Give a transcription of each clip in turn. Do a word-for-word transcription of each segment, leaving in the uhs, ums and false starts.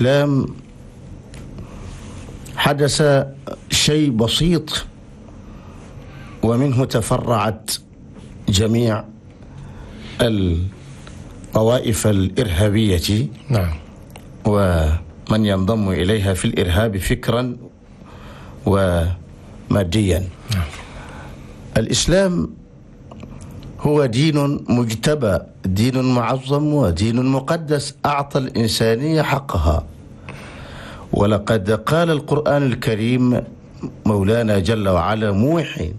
الإسلام حدث شيء بسيط ومنه تفرعت جميع الطوائف الإرهابية. نعم. ومن ينضم إليها في الإرهاب فكرا وماديا. نعم. الإسلام هو دين مجتبى، دين معظم ودين مقدس، أعطى الإنسانية حقها. ولقد قال القرآن الكريم مولانا جل وعلا موحي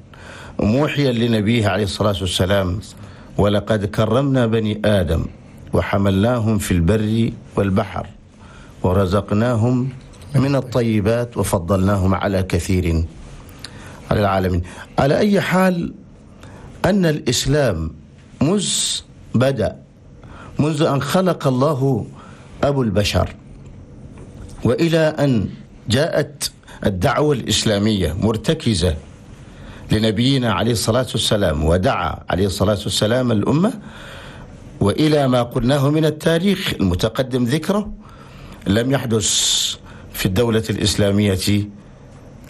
موحيا لنبيه عليه الصلاة والسلام: ولقد كرمنا بني آدم وحملناهم في البر والبحر ورزقناهم من الطيبات وفضلناهم على كثير على العالمين. على أي حال، أن الإسلام مذ بدأ، منذ أن خلق الله أبو البشر وإلى أن جاءت الدعوة الإسلامية مرتكزة لنبينا عليه الصلاة والسلام، ودعا عليه الصلاة والسلام الأمة، وإلى ما قلناه من التاريخ المتقدم ذكره، لم يحدث في الدولة الإسلامية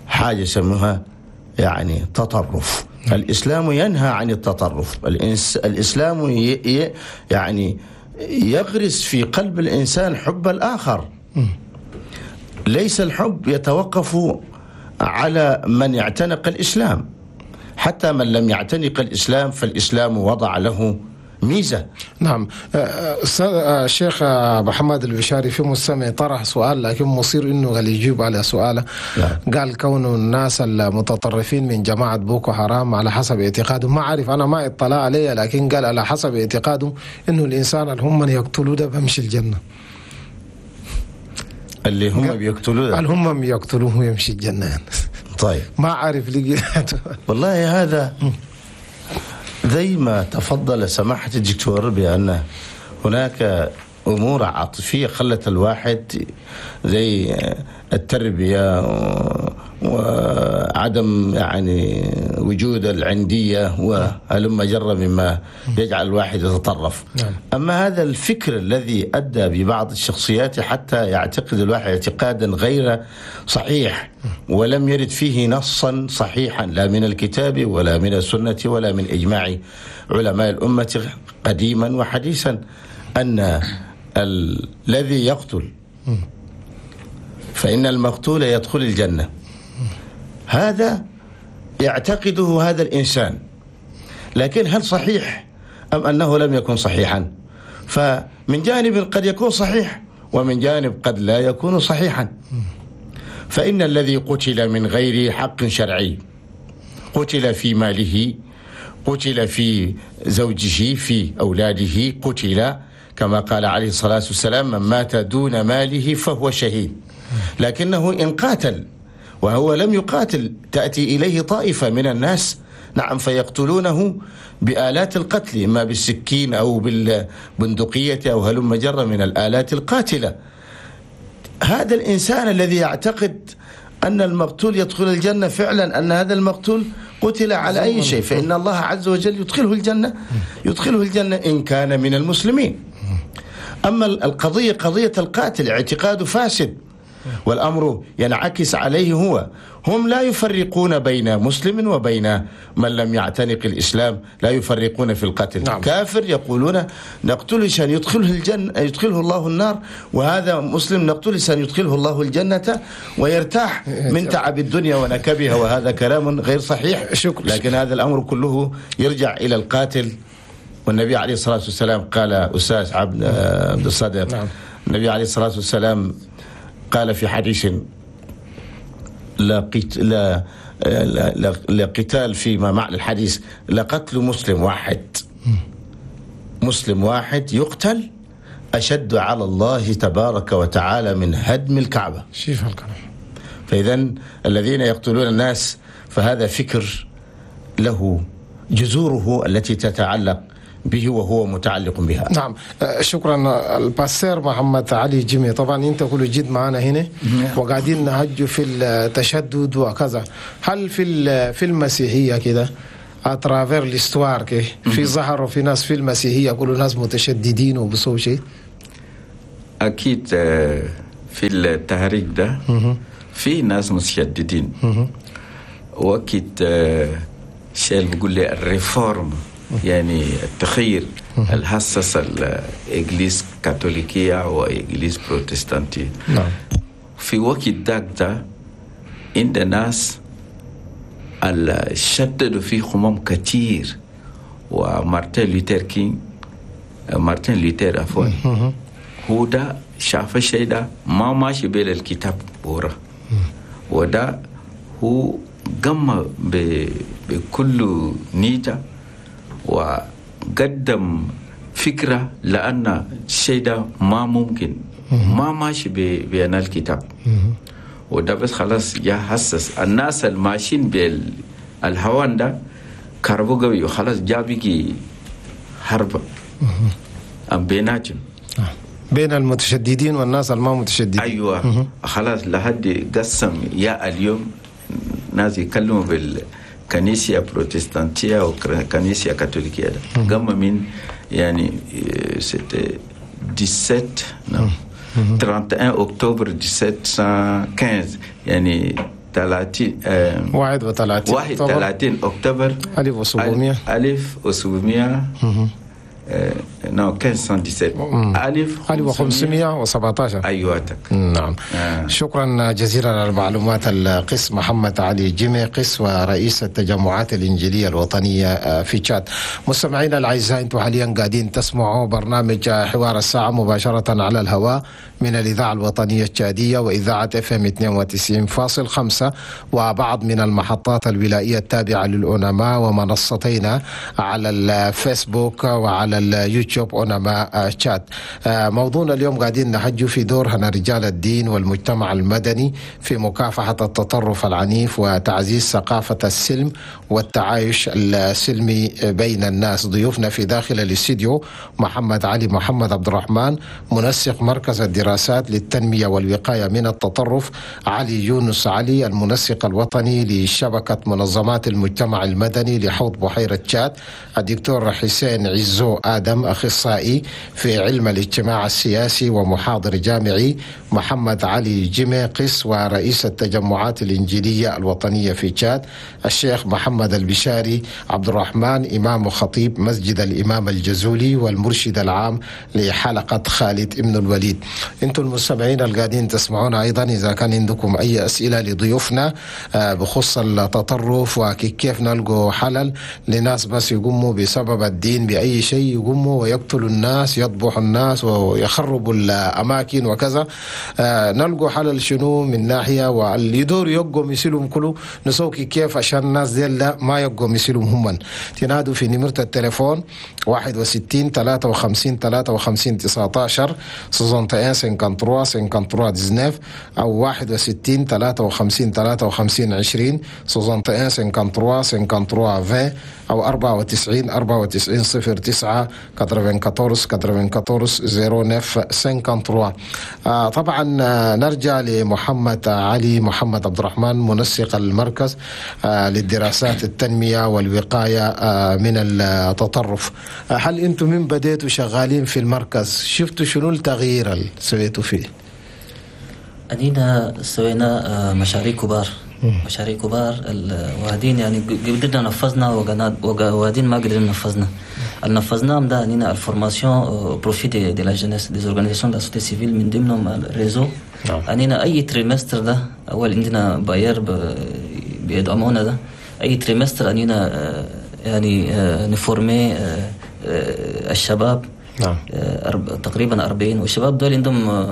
حاجة يسموها يعني تطرف. الإسلام ينهى عن التطرف. الإنس الإسلام ي... ي... يعني يغرس في قلب الإنسان حب الآخر. ليس الحب يتوقف على من يعتنق الإسلام، حتى من لم يعتنق الإسلام فالإسلام وضع له ميزة. نعم. الشيخ محمد البشاري، في مستمع طرح سؤال لكن مصير انه قال يجيب على سؤاله. نعم. قال كون الناس المتطرفين من جماعة بوكو حرام على حسب اعتقاده، ما عارف انا ما اطلع عليه، لكن قال على حسب اعتقاده انه الانسان اللي هم من يقتلوه ده بمشي الجنة. اللي هم بيقتلوه اللي هم يقتلوه يمشي الجنة يعني. طيب ما عارف لقي. والله هذا زي ما تفضل سماحة الدكتور بأن هناك أمور عاطفية خلت الواحد زي التربية وعدم يعني وجود العندية وهلم جر مما يجعل الواحد يتطرف. نعم. أما هذا الفكر الذي أدى ببعض الشخصيات حتى يعتقد الواحد اعتقادا غير صحيح ولم يرد فيه نصا صحيحا لا من الكتاب ولا من السنة ولا من إجماع علماء الأمة قديما وحديثا، أن الذي يقتل فإن المقتول يدخل الجنة، هذا يعتقده هذا الإنسان، لكن هل صحيح أم أنه لم يكن صحيحا؟ فمن جانب قد يكون صحيح ومن جانب قد لا يكون صحيحا. فإن الذي قتل من غير حق شرعي، قتل في ماله، قتل في زوجه، في أولاده، قتل كما قال عليه الصلاة والسلام: من مات دون ماله فهو شهيد. لكنه إن قاتل وهو لم يقاتل تأتي إليه طائفة من الناس، نعم، فيقتلونه بآلات القتل، إما بالسكين أو بالبندقية أو هلم جر من الآلات القاتلة. هذا الإنسان الذي يعتقد أن المقتول يدخل الجنة فعلا، أن هذا المقتول قتل على أي شيء، فإن الله عز وجل يدخله الجنة، يدخله الجنة إن كان من المسلمين. أما القضية قضية القاتل اعتقاد فاسد، والأمر ينعكس عليه هو. هم لا يفرقون بين مسلم وبين من لم يعتنق الإسلام، لا يفرقون في القتل. نعم. كافر يقولون نقتله عشان يدخله الجنة، يدخله الله النار، وهذا مسلم نقتله عشان يدخله الله الجنة ويرتاح من تعب الدنيا ونكبها، وهذا كلام غير صحيح. شكرا. لكن هذا الأمر كله يرجع إلى القاتل. والنبي عليه الصلاة والسلام قال، أستاذ عبد عبد الصادق، نعم. النبي عليه الصلاة والسلام قال في حديث: لا قت... لا... لا... لا... لا قتال فيما معنى الحديث، لا قتل مسلم واحد، مسلم واحد يقتل أشد على الله تبارك وتعالى من هدم الكعبة. شيف الكلام. فإذا الذين يقتلون الناس فهذا فكر له جذوره التي تتعلق به وهو متعلق بها. نعم. شكرا ال pasteur محمد علي جيمي. طبعا انت كل جد معنا هنا وقاعدين نهج في التشدد وكذا. هل في في المسيحيه كده à travers l'histoire كي في ظهروا في ناس في المسيحيه يقولوا ناس متشددين وبسوا شيء؟ أكيد في التهريج ده في ناس متشددين. وقت شيء اللي بيقول لي ال réforme، يعني التغيير الحسس ال église كاثوليكية و église بروتستانتية. نعم. في وقت داك ده عند ناس اللي شددوا في خمام كتير، ومارتن لوثر كينج، مارتن لوثر عفوا، هو ده شاف الشيء ده ما ماشي بين الكتاب بورا، وده هو قام بكل نيته وقدم فكرة لأن الشيء ده ما ممكن، ما ماشي بين الكتاب. وده بس خلاص يا حسس الناس الماشيين بالهوان ده كربو قوي، وخلاص جابيكي حرب أم بيناتهم، بين المتشددين والناس الما متشددين. أيوة خلاص لحد قسم يا اليوم ناس يكلموا بالكنيسة بروتستانتية وكنيسة كاثوليكية ده قام من يعني c'était dix-sept non trente et un octobre dix-sept cent quinze، يعني ثلاثين واحد وثلاثين واحد وثلاثين أكتوبر ألف وسبعمية ألف وسبعمية non quinze cent dix-sept ألف ألف وخمسمية وسبعة عشر. أيوة. نعم. آه. شكرا جزيلا على المعلومات القس محمد علي جيمي، قس ورئيس التجمعات الإنجيلية الوطنية في تشاد. مستمعينا الأعزاء، أنتم حاليا قاعدين تسمعوا برنامج حوار الساعة مباشرة على الهواء من الإذاعة الوطنية التشادية وإذاعة اف ام اثنين وتسعين فاصل خمسة وبعض من المحطات الولائية التابعة للأونما ومنصتينا على الفيسبوك وعلى اليوتيوب أونما تشاد. موضوعنا اليوم قاعدين نحجوا في دور هنا رجال الدين والمجتمع المدني في مكافحة التطرف العنيف وتعزيز ثقافة السلم والتعايش السلمي بين الناس. ضيوفنا في داخل الاستديو محمد علي محمد عبد الرحمن، منسق مركز الدراسات للتنمية والوقاية من التطرف، علي يونس علي المنسق الوطني لشبكة منظمات المجتمع المدني لحوض بحيرة تشاد، الدكتور حسين عزو آدم أخصائي في علم الاجتماع السياسي ومحاضر جامعي، محمد علي جيمي قس ورئيس التجمعات الإنجيلية الوطنية في تشاد، الشيخ محمد البشاري عبد الرحمن إمام وخطيب مسجد الإمام الجزولي والمرشد العام لحلقة خالد ابن الوليد. انتم المستمعين القاعدين تسمعونا أيضا، إذا كان عندكم أي أسئلة لضيوفنا بخصوص التطرف وكيف نلقوا حلل لناس بس يقوموا بسبب الدين بأي شيء يقوموا ويقتلوا الناس، يذبحوا الناس ويخربوا الأماكن وكذا، نلقوا حلل شنو من ناحية، واللي يدور يقوم يسلهم كله نسوكي كيف عشان الناس دي لا ما يقوم يسلهم هم. تنادوا في نمرة التليفون واحد وستين ثلاثة وخمسين ثلاثة وخمسين تسعة عشر soixante et un cinquante-trois cinquante-trois dix-neuf أو واحد وستين ثلاثة وخمسين ثلاثة وخمسين عشرين soixante et un cinquante-trois cinquante-trois vingt أو أربعة وتسعين أربعة وتسعين صفر تسعة quatre-vingt-quatorze quatre-vingt-quatorze zéro neuf cinquante-trois. آه طبعا نرجع لمحمد علي محمد عبد الرحمن منسق المركز آه للدراسات التنمية والوقاية آه من التطرف. آه هل أنتم من بديتوا شغالين في المركز شفتوا شنو التغيير اللي سويتوا فيه؟ أدينا سوينا مشاريع كبار، مشاريع كبار وهدين يعني قدرنا نفذنا وهدين ما قدرنا نفذنا. اللي نفذناهم ده أننا ال formation profit de, de la jeunesse des organisations de la société civile من ضمنهم ال réseau. أننا أي trimestre ده أول عندنا bailleur بيدعمونا ده أي trimestre أننا يعني ن former الشباب. نعم. تقريبا أربعين، والشباب دول عندهم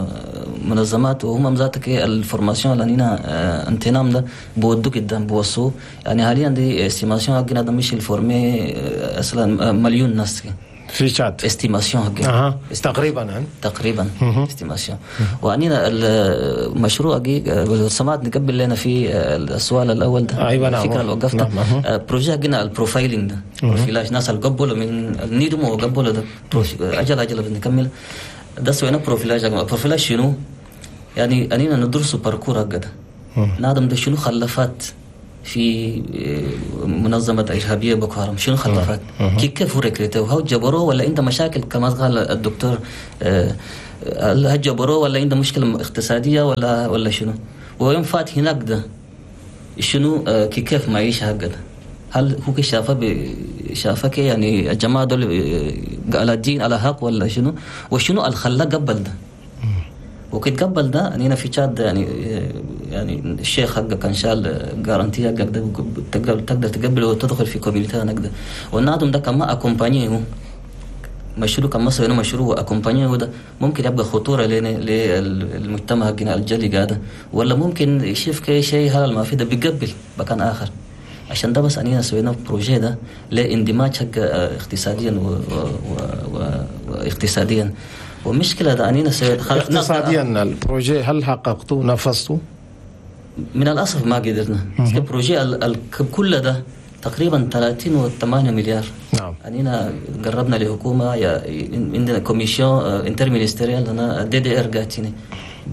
منظمات وهم ذاتك ال formation اللي أننا انتنام ده بودو قدام بوصو يعني حاليا دي estimation حقنا ده مش ال former اصلا مليون ناس في تشاد estimation حقنا. أه. تقريبا تقريبا estimation. وأننا المشروع حقي سمعت نقبل لنا في السؤال الاول ده. أيوة نعم. الفكرة اللي وقفتها نعم. projet حقنا ال profiling ده profilage ناس اللي قبلوا من النيدم وقبلوا ده اجل اجل بنكمل ده سوينا profilage. profilage شنو؟ يعني أننا ندرس parcours هكذا نادم ده شنو خلفات في منظمة إرهابية بوكو حرام، شنو خلفات كيف كيف recruté وهو جبروه ولا عنده مشاكل كما قال الدكتور هل جبروه ولا عنده مشكلة اقتصادية ولا ولا شنو؟ ويوم فات هناك ده شنو كيف معيشة هكذا؟ هل هو شافه شافك يعني الجماعة دول على الدين على حق ولا شنو؟ وشنو الخلا قبل ده؟ وكنت قبل ده أنا في تشاد يعني يعني الشيخ حقه كان شال garantie حقك ده تقدر تقبله وتدخل في communauté هناك ده، والنادم ده كان ما accompagné هو مشروع كان مصر مشروع accompagné هو ده ممكن يبقى خطورة للمجتمع حقنا الجلي قاعدة، ولا ممكن يشوف كي شيء هذا ما في ده بيقبل مكان آخر. عشان ده بس أنينا سوينا projet ده لاندماج حق اقتصاديا و... و... و... واقتصاديا. ومشكلة ده أنينا سوي... اقتصاديا ال projet هل حققته نفذته؟ من الأسف ما قدرنا. ال projet ال... ال... كل ده تقريبا ثلاثين وثمانية مليار. نعم. أنينا قربنا لحكومة يا عندنا commission interministérielle أنا DDR قاتيني،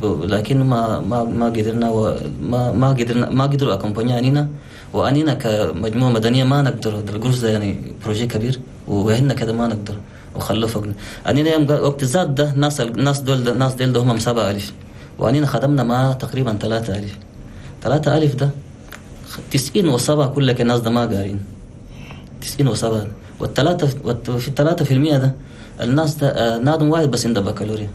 لكن ما ما ما قدرنا وما ما قدرنا ما قدروا accompagner أنينا، وأنينا كمجموعة مدنية ما نقدر القرص ده يعني projet كبير وهن كده ما نقدر وخلوا فوقنا. أنينا يوم وقت زاد ده ناس الناس دول ناس دول ده هم سبعة ألف، وأنينا خدمنا مع تقريبا ثلاثة ألف ثلاثة ألف ده تسعين وسبعة كلك الناس ده ما قارين تسعين وسبعة، والثلاثة في الثلاثة في المية ده الناس ده نادم واحد بس عنده بكالوريا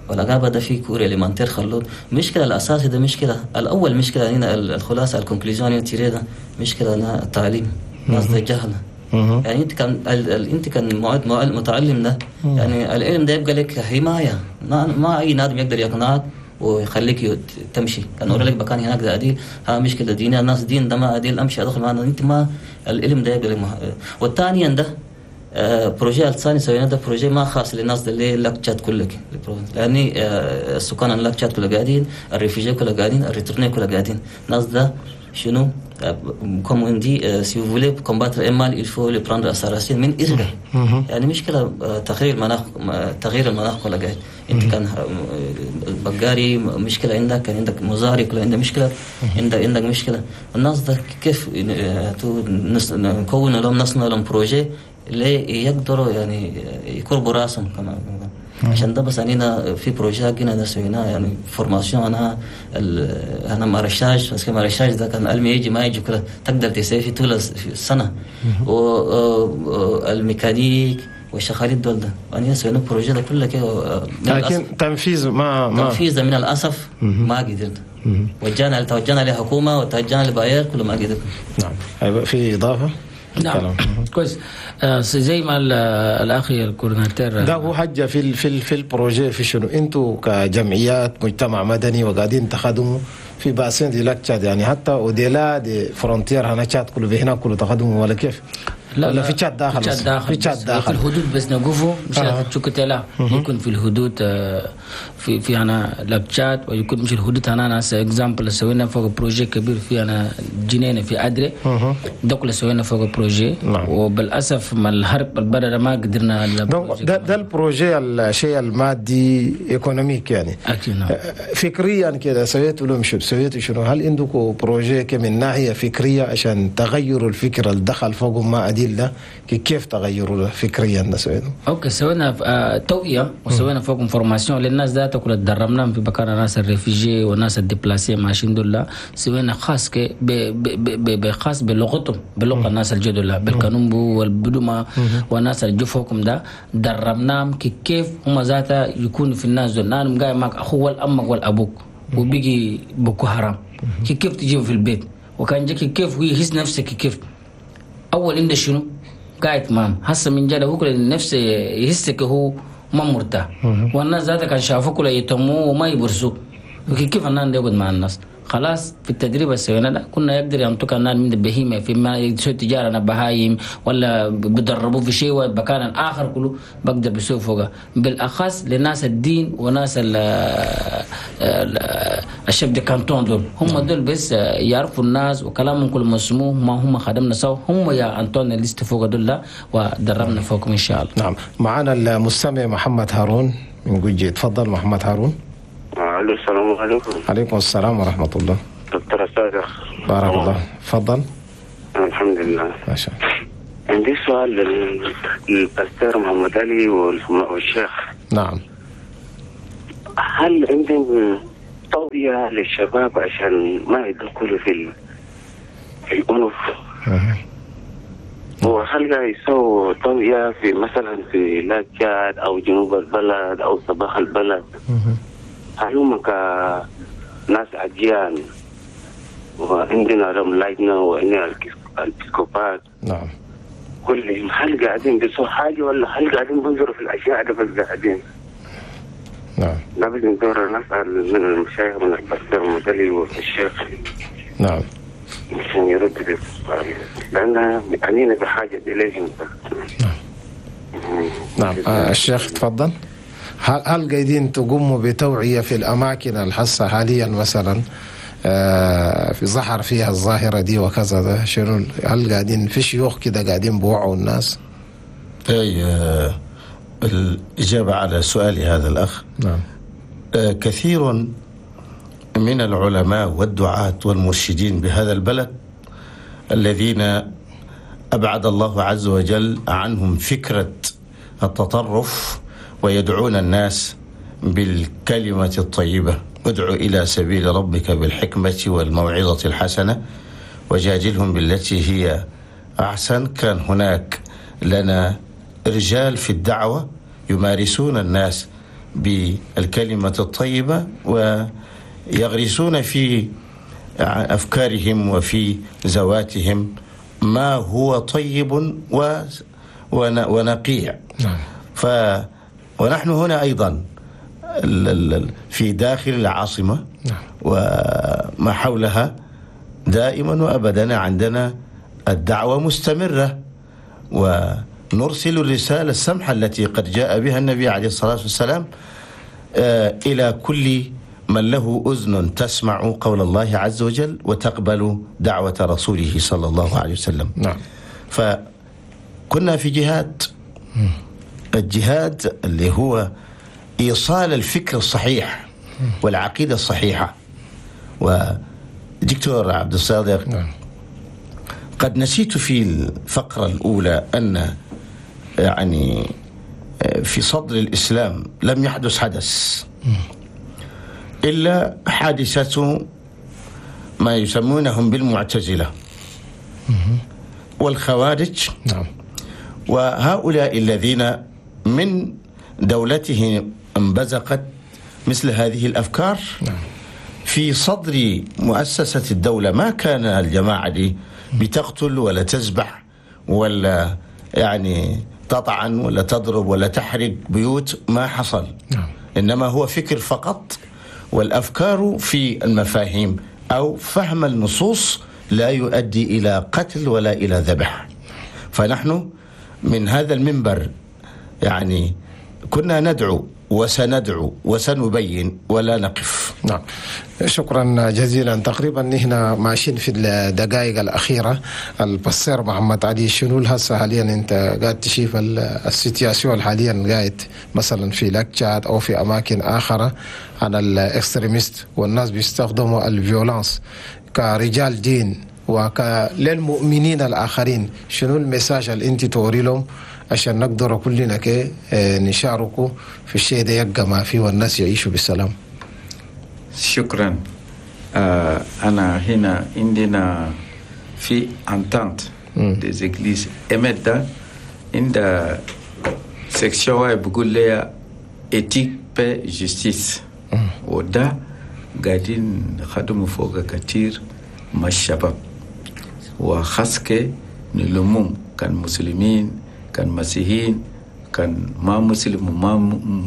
ولا قابة ده في cours élémentaire خلود. مشكلة الأساسي ده مشكلة الأول مشكلة هنا الخلاصة ال conclusion tirée ده مشكلة هنا التعليم ناس ده جهلة. يعني أنت كان ال... أنت كان معد متعلم ده يعني العلم ده يبقى لك حماية، ما, ما أي نادم يقدر يقنعك ويخليك تمشي. كان أقول لك بكان هناك ده أديل ها مشكلة دينية الناس دين ده ما أديل أمشي أدخل معنا أنت ما العلم ده يبقى لك مح... والثانيا ده projet الثاني سوينا ده projet ما خاص للناس اللي Lac Tchad كلك، لأني السكان ال Lac Tchad كله قاعدين، ال réfugiés كله قاعدين، ال retournés كله قاعدين. الناس ده شنو comme on dit si vous voulez combattre un mal il faut le prendre à sa racine من إرجع. يعني مشكلة تغيير المناخ تغيير المناخ كله قاعد. أنت كان بقاري مشكلة عندك، كان عندك مزاري كله عندك مشكلة، عندك عندك مشكلة. الناس ده كيف نكون لهم نصنع لهم projet اللي يقدروا يعني يقربوا راسهم كمان. عشان ده بس أنينا في projet جينا سويناه يعني formation أنا أنا maraîchage بس maraîchage ده كان علمي يجي ما يجي كله تقدر تسوي في طول السنة، والميكانيك والشغالين دول ده أنا سوينا projet ده كله كده. لكن تنفيذ ما ما تنفيذ من الأسف ما قدرنا. وجانا توجهنا لحكومة وتوجهنا ل bailleur كله ما قدرنا. نعم. في إضافة؟ نعم كويس. آه زي ما الاخ ال coordinateur ده هو حاجة في ال في ال في ال projet في شنو انتوا كجمعيات مجتمع مدني وقاعدين تخدموا في bassin du Lac Tchad، يعني حتى au-delà des frontières هنا تشاد كله هنا كله تخدموا ولا كيف؟ لا ولا في تشاد داخل؟ في تشاد داخل، في تشاد داخل في الحدود بس نقفوا مش آه. تشوكتلا يكون في الحدود في في انا Lac Tchad ويكون مش الحدود انا ناس exemple سوينا فوق projet كبير في انا جنينة في ادري ده كله سوينا فوق projet. نعم. وبالاسف ما الحرب البلد ما قدرنا ده, ده ال projet الشيء المادي économique يعني اكيد. نعم. فكريا كده سويتوا لهم شو سويتوا شنو؟ هل عندكم projet من ناحية فكرية عشان تغيروا الفكرة اللي دخل فوق ما ادي ده كيف تغيروا فكريا ده سوينا؟ okay سوينا آه توعيه وسوينا فوق formation للناس ذات كل تدربناهم في مكان الناس ال réfugiés والناس ال déplacés ماشيين دول سوينا خاص ك بخاص بلغتهم بلغه الناس الجدول بالكانومبو والبدوما والناس اللي فوقهم ده دربناهم كيف هم ذاتا يكونوا في الناس دول. انا قاعد معك اخو والامك والابوك وبيجي بوكو حرام كيف تجيبه في البيت وكان جاك كيف ويحس نفسك كيف اول انت شنو قاعد مام هسه من جاله هو كل نفسه يحسك هو ما مرتاح والناس ذاتك كان شافوك ولا يتموا وما يبرسوا كيف الناس يقعد مع الناس خلاص. في التدريب السوينا ده كنا يقدر ينطق الناس من البهيمة في ما يسوي تجارة انا بهايم ولا بدربوه في شيء ومكان اخر كله بقدر بسوي فوقه بالاخص لناس الدين وناس ال ال chefs de canton دول هم دول بس يعرفوا الناس وكلامهم كله مسموع ما هم خدمنا سوا هم يا انطون الليست فوق دول ودربنا فوقهم ان شاء الله. نعم معنا المستمع محمد هارون من جوجي. تفضل محمد هارون. الو السلام عليكم. عليكم السلام ورحمة الله. دكتور صادق بارك الله. تفضل. الحمد لله. ما شاء الله. عندي سؤال للباستور محمد علي والشيخ. نعم. هل عندهم توعية للشباب عشان ما يدخلوا في ال... في الأنف؟ وهل قاعد يسووا توعية في مثلا في Lac Tchad أو جنوب البلد أو صباح البلد؟ هل هم كناس أديان وعندنا لهم لجنة وعندنا الإبسكوبات؟ نعم. كلهم هل قاعدين بيسووا حاجة ولا هل قاعدين بينظروا في الأشياء ده بس قاعدين؟ نعم. لابد ندور نسأل من المشايخ من البستر المدلي والشيخ. نعم. عشان يرد لأن أنينا بحاجة إليهم. نعم. نعم. آه الشيخ تفضل. هل هل قاعدين تقوموا بتوعية في الأماكن الحصة حاليا مثلا آه في ظهر فيها الظاهرة دي وكذا ده شنو؟ هل قاعدين في شيوخ كده قاعدين بوعوا الناس؟ أي آه الإجابة على سؤال هذا الأخ. نعم. آه كثير من العلماء والدعاة والمرشدين بهذا البلد الذين أبعد الله عز وجل عنهم فكرة التطرف ويدعون الناس بالكلمة الطيبة، ادعو إلى سبيل ربك بالحكمة والموعظة الحسنة وجادلهم بالتي هي أحسن. كان هناك لنا رجال في الدعوة يمارسون الناس بالكلمة الطيبة ويغرسون في أفكارهم وفي ذواتهم ما هو طيب ونقيع. ف ونحن هنا أيضا في داخل العاصمة وما حولها دائما وأبدا عندنا الدعوة مستمرة، ونرسل الرسالة السمحة التي قد جاء بها النبي عليه الصلاة والسلام إلى كل من له أذن تسمع قول الله عز وجل وتقبل دعوة رسوله صلى الله عليه وسلم. نعم. فكنا في جهاد، الجهاد اللي هو إيصال الفكر الصحيح والعقيدة الصحيحة. ودكتور عبد الصادق، نعم، قد نسيت في الفقرة الأولى أن يعني في صدر الإسلام لم يحدث حدث إلا حادثة ما يسمونهم بالمعتزلة والخوارج. نعم. وهؤلاء الذين من دولتهم انبزقت مثل هذه الأفكار. نعم. في صدر مؤسسة الدولة ما كان الجماعة دي بتقتل ولا تذبح ولا يعني تطعن ولا تضرب ولا تحرق بيوت، ما حصل. نعم. إنما هو فكر فقط، والأفكار في المفاهيم أو فهم النصوص لا يؤدي إلى قتل ولا إلى ذبح. فنحن من هذا المنبر يعني كنا ندعو وسندعو وسنبين ولا نقف. نعم، شكرا جزيلا. تقريبا نحن ماشيين في الدقائق الأخيرة. البصير محمد علي، شنو هسه حاليا أنت قاعد تشوف ال situation حاليا قاعد مثلا في Lac Tchad أو في أماكن آخرى عن ال extrémistes والناس بيستخدموا ال violence كرجال دين وكللمؤمنين الآخرين، شنو ال message اللي أنت توري لهم عشان نقدر كلنا كي نشاركوا في الشيء ده يبقى ما فيه والناس يعيشوا بالسلام؟ شكرا. آه أنا هنا عندنا في entente des églises إمدا عند section بيقول لي éthique paix justice، وده قاعدين خدموا فوق كتير مع الشباب، وخاصة نلمهم كان مسلمين كان مسيحيين كان ما مسلم وما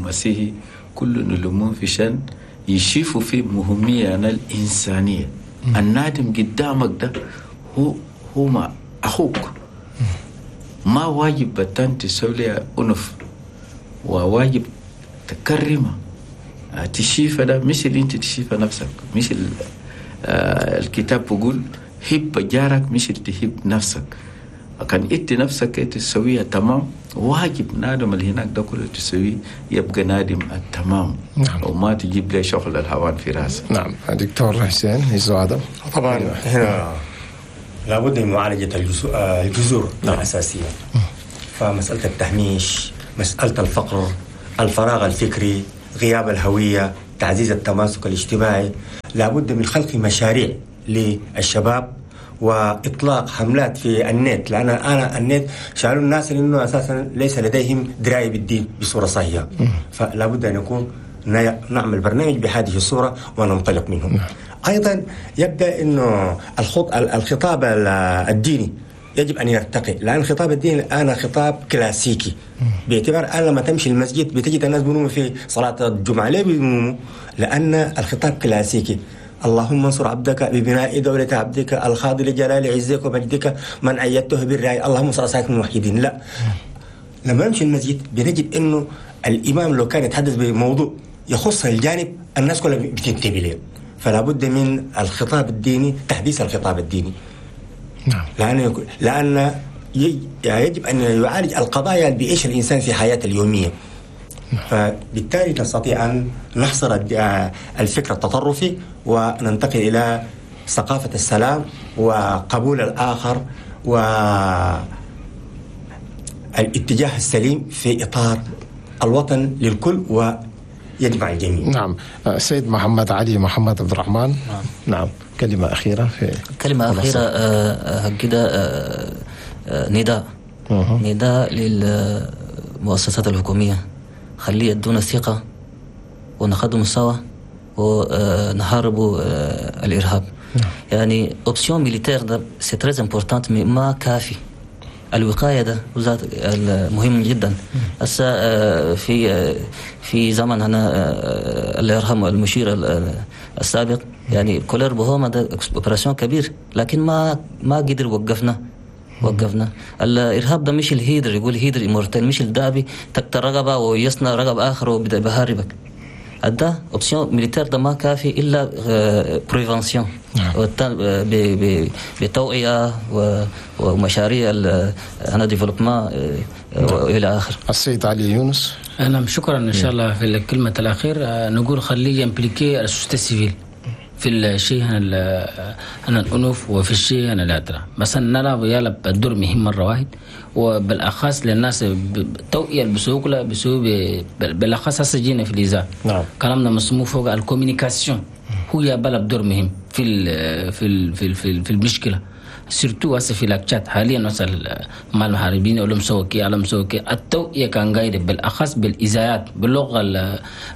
مسيحي، كل نلمهم في شان يشوفوا في مهمية الإنسانية. النادم قدامك ده هو هو ما أخوك، ما واجب بتان تسوي أنف، وواجب تكرمه تشيفه ده مش اللي انت تشيفه نفسك، مش الكتاب بيقول هب جارك مش اللي تهب نفسك. كان انت نفسك تسويها تمام، واجب نادم اللي هناك ده كله تسويه يبقى نادم التمام. نعم. وما تجيب لي شغل الهوان في راسك. نعم. دكتور حسين يزو آدم، طبعا هنا لابد من معالجة الجذور. نعم. الأساسية، فمسألة التهميش، مسألة الفقر، الفراغ الفكري، غياب الهوية، تعزيز التماسك الاجتماعي. لابد من خلق مشاريع للشباب وإطلاق حملات في النت، لأن أنا النت شعروا الناس أنه أساسا ليس لديهم دراية بالدين بصورة صحيحة، فلا بد أن يكون نعمل برنامج بهذه الصورة وننطلق منه. أيضا يبدأ أنه الخطاب الديني يجب أن يرتقي، لأن الخطاب الديني الآن خطاب كلاسيكي، باعتبار الآن لما تمشي المسجد بتجد الناس بينوموا في صلاة الجمعة. ليه بينوموا؟ لأن الخطاب كلاسيكي. اللهم انصر عبدك ببناء دولة عبدك الخاضع لجلال عزك ومجدك من أيدته بالرأي، اللهم انصر أصحابك الموحدين. لا، لما نمشي المسجد بنجد أنه الإمام لو كان يتحدث بموضوع يخص الجانب الناس كلها بتنتبه له. فلا بد من الخطاب الديني، تحديث الخطاب الديني. نعم. لأن لأن يجب أن يعالج القضايا اللي بيعيشها الإنسان في حياته اليومية. نعم. فبالتالي نستطيع أن نحصر الفكر التطرفي وننتقل إلى ثقافة السلام وقبول الآخر والاتجاه السليم في إطار الوطن للكل و يجمع الجميع. نعم. سيد محمد علي محمد عبد الرحمن. نعم. نعم، كلمة أخيرة. في كلمة أخيرة كده، نداء أه. نداء للمؤسسات الحكومية، خليه يدونا الثقة ونخدم سوا ونحاربوا الإرهاب. نعم. يعني option militaire ده c'est très important، ما كافي. الوقاية ده وزاد مهم جدا. هسه في في زمن هنا الله يرحمه المشير السابق، يعني colère بهوما ده opération كبير، لكن ما ما قدر وقفنا وقفنا الارهاب ده. مش ال hydre، يقول hydre immortelle، مش الدابي تكتر رقبه ويصنع رقب اخر وبدا بهاربك. ده option militaire ده ما كافي الا prévention بتوعيه ومشاريع انا développement والى اخر. السيد علي يونس. نعم، شكرا. ان شاء الله في الكلمه الاخير نقول خليه impliquer ال société civile في الشيء هنا الأنوف وفي الشيء هنا الأدرى. مثلا نلعب يلعب الدور مهم مرة واحد، وبالأخص للناس توعية بسوق لا بسوق بالأخص هسه جينا في الإذاعة. نعم. كلامنا مسموع فوق ال communication هو يلعب دور مهم في ال في ال في ال في, في المشكلة، surtout هسه في Lac Tchad حاليا مثلا مع المحاربين ولا مسوكي على مسوكي. التوعية كان قايد بالأخص بالإذاعات باللغة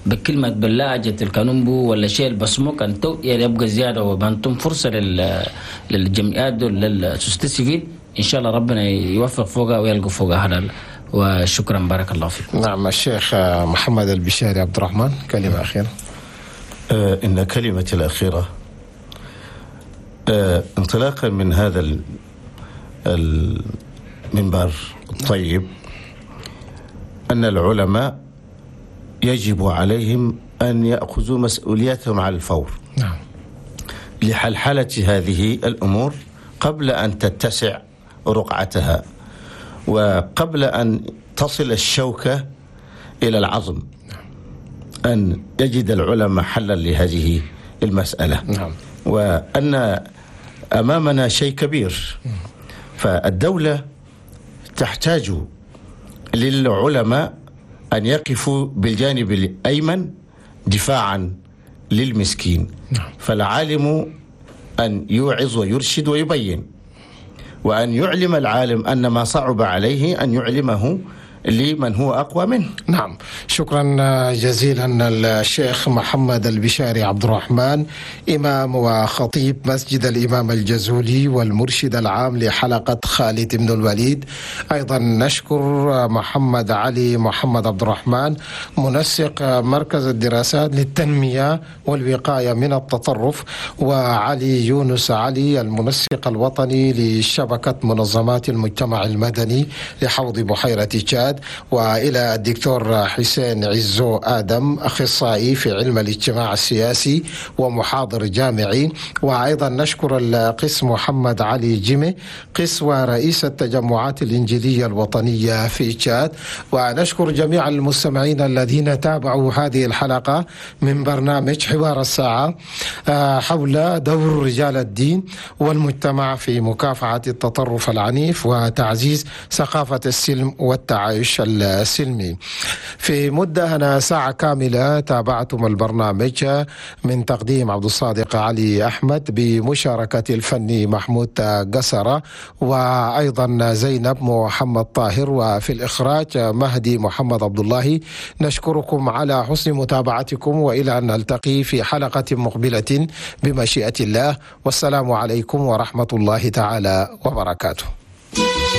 بكلمة باللهجة الكانومبو ولا شيء بسمو، كان توعية يبقى زيادة وبنتم فرصة لل للجمعيات دول لل société civile. إن شاء الله ربنا يوفق فوقها ويلقى فوقها حلال. وشكرا، بارك الله فيكم. نعم. الشيخ محمد البشاري عبد الرحمن، كلمة أخيرة. آه إن كلمتي الأخيرة آه، انطلاقا من هذا المنبر الطيب، أن العلماء يجب عليهم أن يأخذوا مسؤوليتهم على الفور. نعم. لحلحلة هذه الأمور قبل أن تتسع رقعتها وقبل أن تصل الشوكة إلى العظم. نعم. أن يجد العلماء حلا لهذه المسألة. نعم. وأن أمامنا شيء كبير، فالدولة تحتاج للعلماء أن يقفوا بالجانب الأيمن دفاعا للمسكين. فالعالم أن يوعظ ويرشد ويبين، وأن يعلم العالم أن ما صعب عليه أن يعلمه لمن هو أقوى منه. نعم، شكرا جزيلا الشيخ محمد البشاري عبد الرحمن، إمام وخطيب مسجد الإمام الجزولي والمرشد العام لحلقة خالد بن الوليد. أيضا نشكر محمد علي محمد عبد الرحمن، منسق مركز الدراسات للتنمية والوقاية من التطرف، وعلي يونس علي، المنسق الوطني لشبكة منظمات المجتمع المدني لحوض بحيرة تشاد، وإلى الدكتور حسين عزو آدم، أخصائي في علم الاجتماع السياسي ومحاضر جامعي. وأيضا نشكر القس محمد علي جيمي، قس ورئيس التجمعات الإنجيلية الوطنية في تشاد. ونشكر جميع المستمعين الذين تابعوا هذه الحلقة من برنامج حوار الساعة حول دور رجال الدين والمجتمع في مكافحة التطرف العنيف وتعزيز ثقافة السلم والتعايش. التعايش السلمي. في مدة هنا ساعة كاملة تابعتم البرنامج من تقديم عبد الصادق علي أحمد بمشاركة الفني محمود قسرة وأيضا زينب محمد طاهر، وفي الإخراج مهدي محمد عبد الله. نشكركم على حسن متابعتكم، وإلى أن نلتقي في حلقة مقبلة بمشيئة الله، والسلام عليكم ورحمة الله تعالى وبركاته.